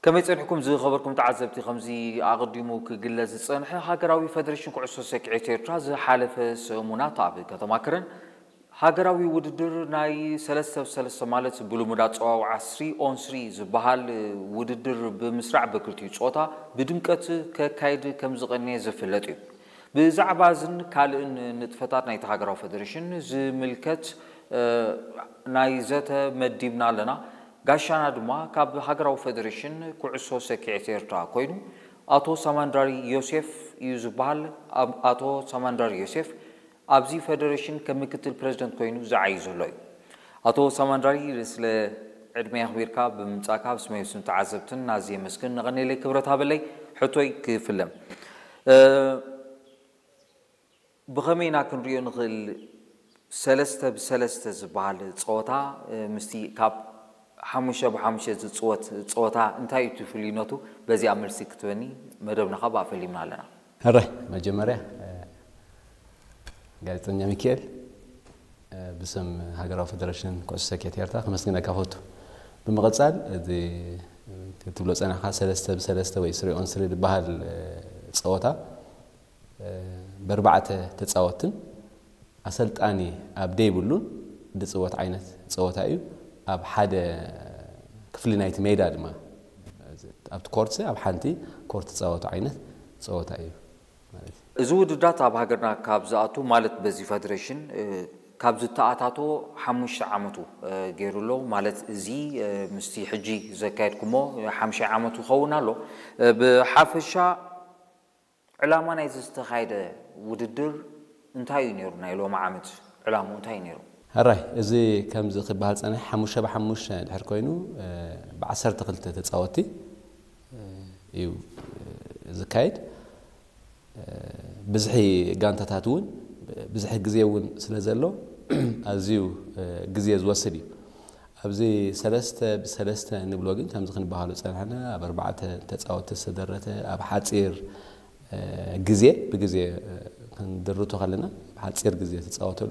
ከመይ ጸኒሕኩም ዝኸበርኩም ተዓዘብቲ? ከምዚ ኣቐዲሙ ክግለጽ ዝጸንሐ፣ ሃገራዊ ፈደሬሽን ኩዕሶ ሰኪዔት ኤርትራ ዝሓለፈ ሰሙናት ኣብ ከተማ ከረን ሃገራዊ ውድድር ናይ ሰለስተ ብ ሰለስተ ማለት ብልሙድ ኣጸዋውዓ ስሪ ኦን ስሪ ዝበሃል ውድድር ብምስራዕ በክልቲኡ ጾታ ብድምቀት ከካይድ ከም ዝቐነየ ዝፍለጥ እዩ። ብዛዕባ እዝን ካልእን ንጥፈታት ናይቲ ሃገራዊ ፈደሬሽን ዝምልከት ናይ ዘተ መዲብና ኣለና። ጋሻና ድማ ካብ ሃገራዊ ፈደሬሽን ኩዕሶ ሰኪዔት ኤርትራ ኮይኑ ኣቶ ሳማንዳሪ ዮሴፍ እዩ ዝበሃል። ኣቶ ሳማንዳሪ ዮሴፍ ኣብዚ ፈደሬሽን ከም ምክትል ፕረዚደንት ኮይኑ ዝዓዩ ዘሎ እዩ። ኣቶ ሳማንዳሪ፣ ስለ ዕድመ ኣኽቢርካ ብምምጻእካ ብስመይ ብስም ተዓዘብትን ኣዝየ የመስግን። ነቐኔለይ ክብረት ሃበለይ። ሕቶይ ክፍለም ብኸመይ ኢና ክንሪኦ ንኽእል? ሰለስተ ብሰለስተ ዝበሃል ፀወታ ምስቲ ካብ ሓሙሽተ ብሓሙሽተ ዝፅወት ፀወታ እንታይ እዩ እቲ ፍልይነቱ? በዚኣ መልሲ ክትበኒ መደብና ካብ ኣፈሊምና ኣለና። ሕራይ፣ መጀመርያ ጋዜጠኛ ሚካኤል፣ ብስም ሃገራዊ ፈደረሽን ኩዕሶ ሰኪዔት ኤርትራ ከመስግነካ ፈቱ። ብምቕፃል እቲ ክትብሎ ፀናሕካ ሰለስተ ብሰለስተ ወይ ስሪ ኦን ስሪ ዝበሃል ፀወታ በርባዕተ ተፃወትን ኣሰልጣኒ ኣብ ደይብሉን ዝፅወት ዓይነት ፀወታ እዩ። ኣብ ሓደ ክፍሊ ናይቲ ሜዳ ድማ ኣብቲ ኮርት ኣብ ሓንቲ ኮርት ዝፃወቱ ዓይነት ፀወታ እዩ ማለት እዩ። እዚ ውድድራት ኣብ ሃገርና ካብ ዝኣቱ ማለት በዚ ፈደሬሽን ካብ ዝተኣታቶ ሓሙሽተ ዓመቱ ገይሩ ኣሎ። ማለት እዚ ምስቲ ሕጂ ዘካየድኩሞ ሓምሻይ ዓመቱ ይኸውን ኣሎ። ብሓፈሻ ዕላማ ናይዚ ዝተኻየደ ውድድር እንታይ እዩ ነይሩ? ናይ ሎሚ ዓመት ዕላምኡ እንታይ እዩ ነይሩ? ሕራይ፣ እዚ ከምዚ ክበሃል ጸኒሑ ሓሙሽተ ብሓሙሽተ ድሕር ኮይኑ ብዓሰርተ ክልተ ተጻወትቲ እዩ ዝካየድ። ብዝሒ ጋንታታት እውን ብዝሒ ግዜ እውን ስለ ዘሎ ኣዝዩ ግዜ ዝወስድ እዩ። ኣብዚ ሰለስተ ብሰለስተ ንብሎ ግን ከምዚ ክንበሃሉ ጸናሕና ኣብ ኣርባዕተ ተጻወትቲ ዝተደረተ ኣብ ሓጺር ግዜ ብግዜ ክንድርቶ ከለና ኣብ ሓጺር ግዜ ተጻወተሉ